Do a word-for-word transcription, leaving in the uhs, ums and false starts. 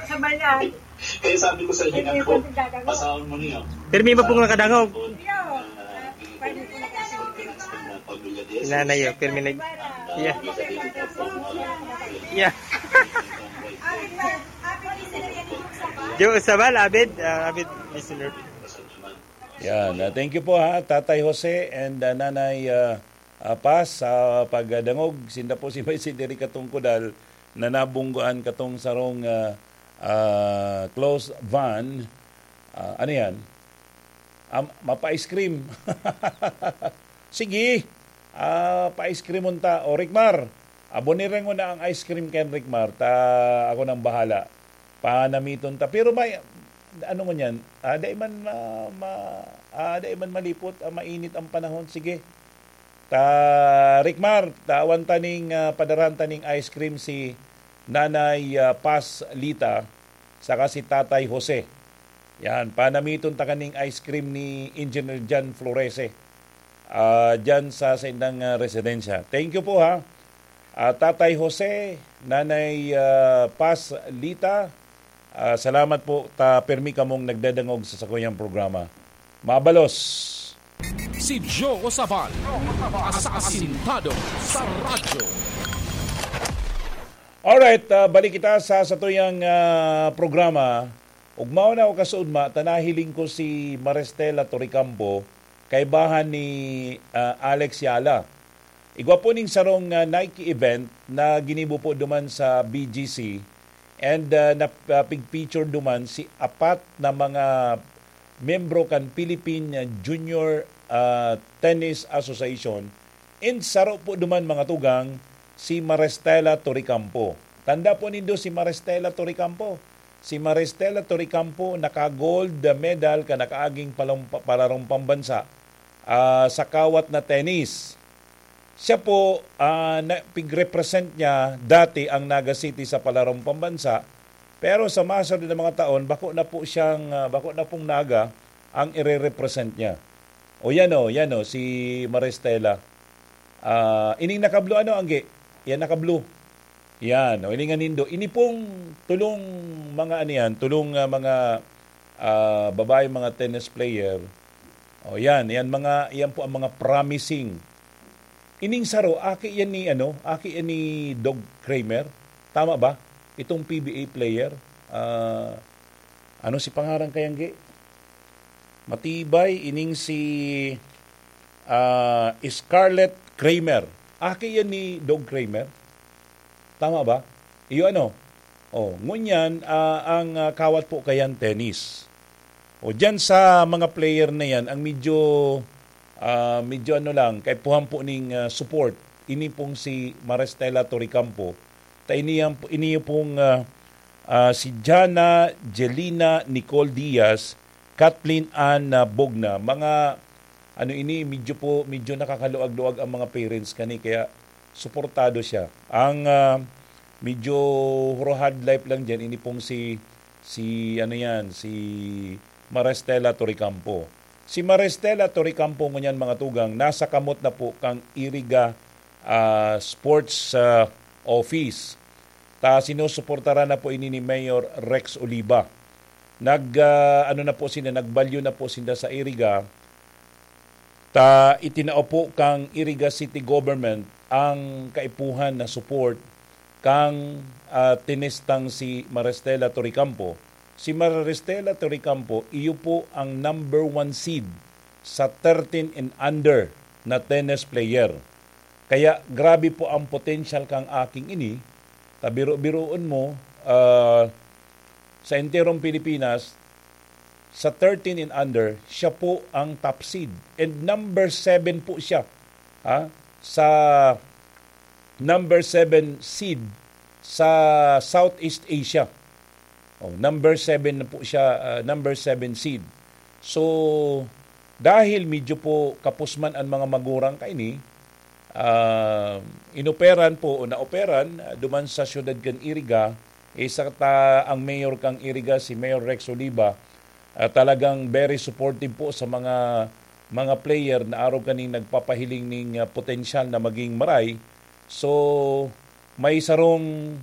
Sa bayan. Kaya sabi ko sa inyo, Hindi ako, ko nagdadangog. Pasahon mo niyo. Pirmi ba pong nakadangog? Yo, ah, pwede po nakadangog. Pamilya din. Nanay, oh, pirmi nag-, yeah. Yeah. Joe Sabal, avid, ah, avid listener. Yan. Ah, thank you po, ha, Tatay Jose and, ah, Nanay, ah, ah, Paz, sa pagdangog. Sinda po si Vice Federica Tungkudal na nabunggoan katong sarong, ah, ah, close van. Ah, ano yan? Ah, mapa-ice cream. Sige. Ah, pa-ice cream unta. O, Ricmar, abonirengon na ang ice cream kan Ricmar. Ta, ako nang bahala. Panamiton ta. Pero may, ano ngunyan? Ah, dai man ma, ma, ah, dai man malipot. Ah, mainit ang panahon. Sige. Ta, Ricmar, tawan ta ning, ah, padaran ta ning ice cream si Nanay, ah, Paz Lita, saka si Tatay Jose. Yan, panamiton ta kaning ice cream ni Engineer Jan Florese, ah, dyan sa saindang, ah, residensya. Thank you po, ha. Ah, Tatay Jose, Nanay, ah, Paz Lita, ah, salamat po ta permi kamong nagdadangog sa sakuyang programa. Mabalos. Si Joe Sabal, asasintado sa radyo. Alright, ah, balik kita sa satuyang, ah, programa. Ugmaon ako kasuodma, ta nahiling ko si Maristela Torrecampo, kaibahan ni, ah, Alex Yala. Igwa po ning sarong, ah, Nike event na ginibo po duman sa B G C, and, ah, na, ah, pig-feature duman si apat na mga membro kan Philippine Junior, ah, Tennis Association, and saro po duman, mga tugang, si Maristela Torrecampo. Tanda po nindo si Maristela Torrecampo. Si Maristela Torrecampo naka-gold medal kan nakaaging palumpa-, palarong pambansa, ah, sa kawat na tennis. Siya po, ah, na, pig-represent niya dati ang Naga City sa palarong pambansa, pero sa masunod na mga taon, bako na po siyang, ah, bako na pong Naga ang ire-represent niya. O yan o, yan o, si Maristela. Ah, ining naka-blue, ano, Angge? Yan, naka-blue. Yan, o, ining anindo. Ini pong tulong mga, ano yan, tulong, ah, mga, ah, babae, mga tennis player. O, yan, yan mga, yan po ang mga promising. Ining saro, aki yan ni, ano, aki yan ni Dog Kramer. Tama ba? Itong P B A player. Ah, ano si pangaran kayang gi? Matibay, ining si, ah, Scarlett Kramer. Aki yan ni Dog Kramer. Tama ba? Iyo ano? O, ngunyan, ah, ang, ah, kawat po kayan, tennis. O, dyan sa mga player na yan, ang medyo, ah, medyo ano lang, kaipuhan po ning, ah, support. Ini pong si Maristela Torrecampo. Ta ini yan po, ini pong, ah, ah, si Jana Jelina Nicole Diaz, Kathleen Ann, ah, Bogna. Mga, ano ini, medyo po, medyo nakakaluag-luag ang mga parents kani, kaya suportado siya. Ang, ah, medyo hurahad life lang dyan, ini pong si, si, ano yan, si Maristela Torrecampo. Si Maristela Torrecampo ngunyan, mga tugang, nasa kamot na po kang Iriga, ah, Sports, ah, Office. Ta sinusuportaran na po ini ni Mayor Rex Oliva. Nag, ah, ano na po sinda, nagbalyo na po sinda sa Iriga. Ta itinao po kang Iriga City Government ang kaipuhan na support kang, ah, tenistang si Maristela Torrecampo. Si Maristela Torrecampo, iyo po ang number one seed sa thirteen and under na tennis player. Kaya grabe po ang potential kang aking ini. Tabiro-biroon mo, ah, sa enterong Pilipinas, sa thirteen and under, siya po ang top seed. And number seven po siya, ha, sa number seven seed sa Southeast Asia. Oh, number seven na po siya, ah, number seven seed. So, dahil medyo po kapusman ang mga magurang kaini, ah, inoperan po o naoperan, ah, duman sa siyudad kan Iriga, isa ta ang mayor kang Iriga, si Mayor Rex Oliva, ah, talagang very supportive po sa mga, mga player na arog kaning nagpapahiling ning, ah, potensyal na maging maray. So, may sarong